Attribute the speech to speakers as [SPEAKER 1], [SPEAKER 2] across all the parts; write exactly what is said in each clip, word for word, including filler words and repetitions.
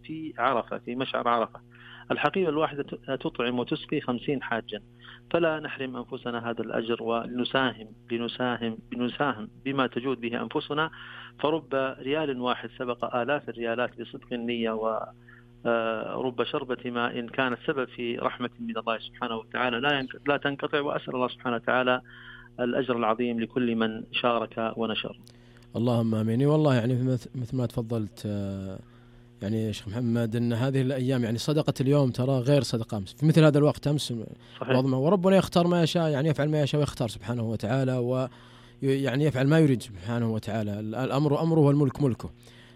[SPEAKER 1] في عرفة في مشعر عرفة. الحقيبة الواحدة تطعم وتسقي خمسين حاجا، فلا نحرم أنفسنا هذا الأجر ونساهم لنساهم بنساهم بما تجود به أنفسنا. فرب ريال واحد سبق آلاف الريالات بصدق النية، ورب شربة ماء كانت سبب في رحمة من الله سبحانه وتعالى لا لا تنقطع. وأسأل الله سبحانه وتعالى الأجر العظيم لكل من شارك ونشر.
[SPEAKER 2] اللهم آمين. والله يعني مثل ما تفضلت يعني يا شيخ محمد أن هذه الأيام يعني صدقة اليوم ترى غير صدقة أمس في مثل هذا الوقت أمس.
[SPEAKER 1] صحيح.
[SPEAKER 2] وربنا يختار ما يشاء، يعني يفعل ما يشاء ويختار سبحانه وتعالى، ويعني يفعل ما يريد سبحانه وتعالى. الأمر أمره والملك ملكه.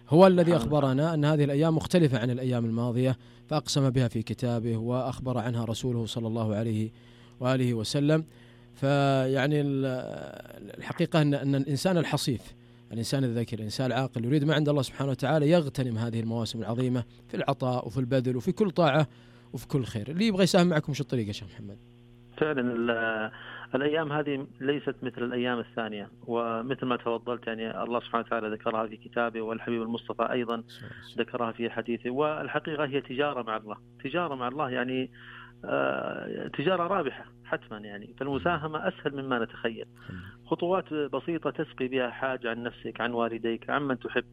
[SPEAKER 2] هو الذي أخبرنا أن هذه الأيام مختلفة عن الأيام الماضية، فأقسم بها في كتابه وأخبر عنها رسوله صلى الله عليه وآله وسلم. فيعني الحقيقة أن أن الإنسان الحصيف، الإنسان الذكي، الإنسان العاقل يريد ما عند الله سبحانه وتعالى يغتنم هذه المواسم العظيمة في العطاء وفي البذل وفي كل طاعة وفي كل خير. اللي يبغى يساهم معكم شو الطريقة يا شيخ محمد؟
[SPEAKER 1] فعلا الأيام هذه ليست مثل الأيام الثانية، ومثل ما تفضلت يعني الله سبحانه وتعالى ذكرها في كتابه، والحبيب المصطفى أيضا ذكرها في حديثه. والحقيقة هي تجارة مع الله، تجارة مع الله يعني آه تجارة رابحة حتما يعني. فالمساهمة أسهل مما نتخيل، خطوات بسيطة تسقي بها حاجة عن نفسك، عن والديك، عن من تحب.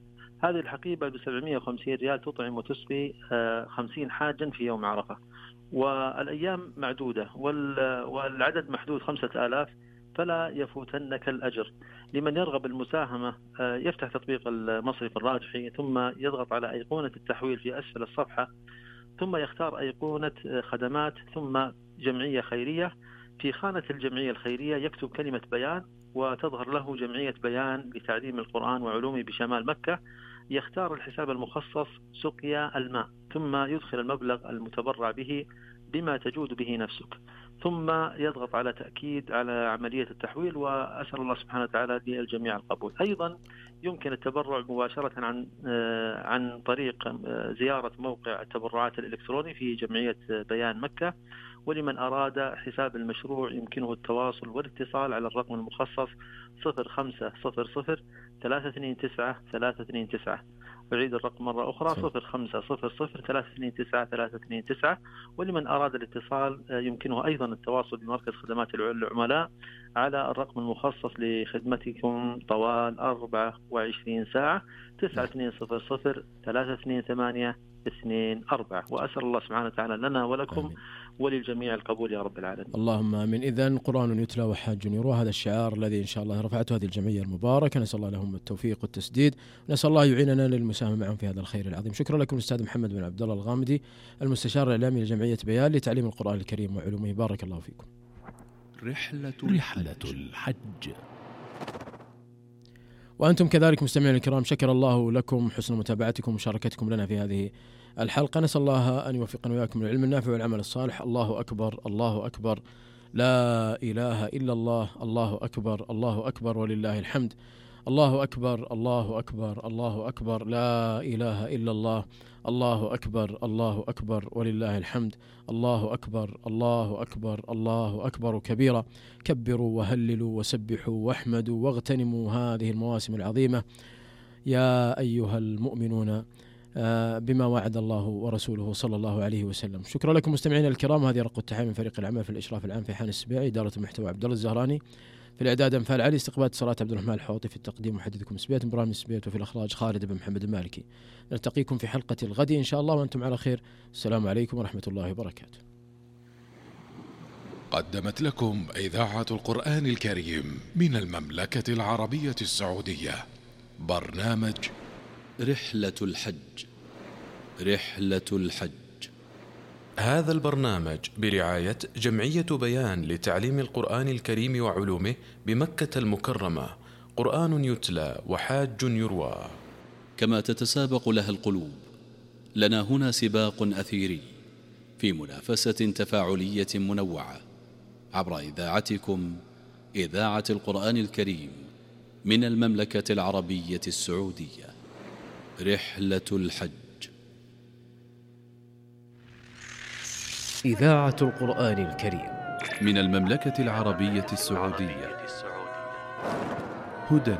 [SPEAKER 1] هذه الحقيبة بسبعمائة وخمسين ريال تطعم وتسقي آه خمسين حاجا في يوم عرفة، والأيام معدودة والعدد محدود خمسة آلاف، فلا يفوتنك الأجر. لمن يرغب المساهمة يفتح تطبيق المصرف الراجحي، ثم يضغط على أيقونة التحويل في أسفل الصفحة، ثم يختار أيقونة خدمات، ثم جمعية خيرية. في خانة الجمعية الخيرية يكتب كلمة بيان، وتظهر له جمعية بيان لتعليم القرآن وعلومه بشمال مكة. يختار الحساب المخصص سقيا الماء، ثم يدخل المبلغ المتبرع به بما تجود به نفسك، ثم يضغط على تأكيد على عملية التحويل. وأسأل الله سبحانه وتعالى للجميع القبول. أيضا يمكن التبرع مباشرة عن عن طريق زيارة موقع التبرعات الإلكتروني في جمعية بيان مكة. ولمن أراد حساب المشروع يمكنه التواصل والاتصال على الرقم المخصص صفر خمسة صفر صفر ثلاثة اثنين تسعة ثلاثة اثنين تسعة. أعيد الرقم مرة أخرى صفر خمسة صفر صفر ثلاثة اثنين تسعة ثلاثة اثنين تسعة. ولمن أراد الاتصال يمكنه أيضا التواصل بمركز خدمات العملاء على الرقم المخصص لخدمتكم طوال أربعة وعشرين ساعة تسعة اثنين صفر صفر ثلاثة اثنين ثمانية اثنين أربعة. وأسأل الله سبحانه وتعالى لنا ولكم آمين. وللجميع القبول يا رب العالمين.
[SPEAKER 2] اللهم آمين. إذن قرآن يتلى وحاج يروى، هذا الشعار الذي إن شاء الله رفعته هذه الجمعية المباركة. نسأل الله لهم التوفيق والتسديد، نسأل الله يعيننا للمساهمة معهم في هذا الخير العظيم. شكرا لكم الأستاذ محمد بن عبد الله الغامدي، المستشار الإعلامي لجمعية بيان لتعليم القرآن الكريم وعلومه. بارك الله فيكم.
[SPEAKER 3] رحلة رحلة الحج.
[SPEAKER 2] وأنتم كذلك مستمعين الكرام، شكر الله لكم حسن متابعتكم ومشاركتكم لنا في هذه الحلقة. نسأل الله أن يوفقنا وإياكم للعلم النافع والعمل الصالح. الله أكبر، الله أكبر، لا إله إلا الله، الله أكبر، الله أكبر ولله الحمد. الله أكبر، الله أكبر، الله أكبر، لا إله إلا الله، الله أكبر، الله أكبر ولله الحمد. الله أكبر، الله أكبر، الله أكبر كبيرا. كبروا وهللوا وسبحوا واحمدوا واغتنموا هذه المواسم العظيمة يا أيها المؤمنون بما وعد الله ورسوله صلى الله عليه وسلم. شكرا لكم مستمعينا الكرام. هذه رقة التحية من فريق العمل في الإشراف العام في حان السباعي، إدارة المحتوى عبد الله الزهراني، في الإعداد أنفال علي، استقبال اتصالات عبد الرحمن الحوطي، في التقديم محدثكم سبيت برامج سبيت، وفي الإخراج خالد بن محمد المالكي. نلتقيكم في حلقة الغد إن شاء الله وأنتم على خير. السلام عليكم ورحمة الله وبركاته.
[SPEAKER 3] قدمت لكم إذاعة القرآن الكريم من المملكة العربية السعودية برنامج
[SPEAKER 4] رحلة الحج. رحلة الحج.
[SPEAKER 5] هذا البرنامج برعاية جمعية بيان لتعليم القرآن الكريم وعلومه بمكة المكرمة. قرآن يتلى وحاج يروى.
[SPEAKER 4] كما تتسابق لها القلوب، لنا هنا سباق أثيري في منافسة تفاعلية منوعة عبر إذاعتكم إذاعة القرآن الكريم من المملكة العربية السعودية. رحلة الحج.
[SPEAKER 6] إذاعة القرآن الكريم
[SPEAKER 4] من المملكة العربية السعودية.
[SPEAKER 3] هدى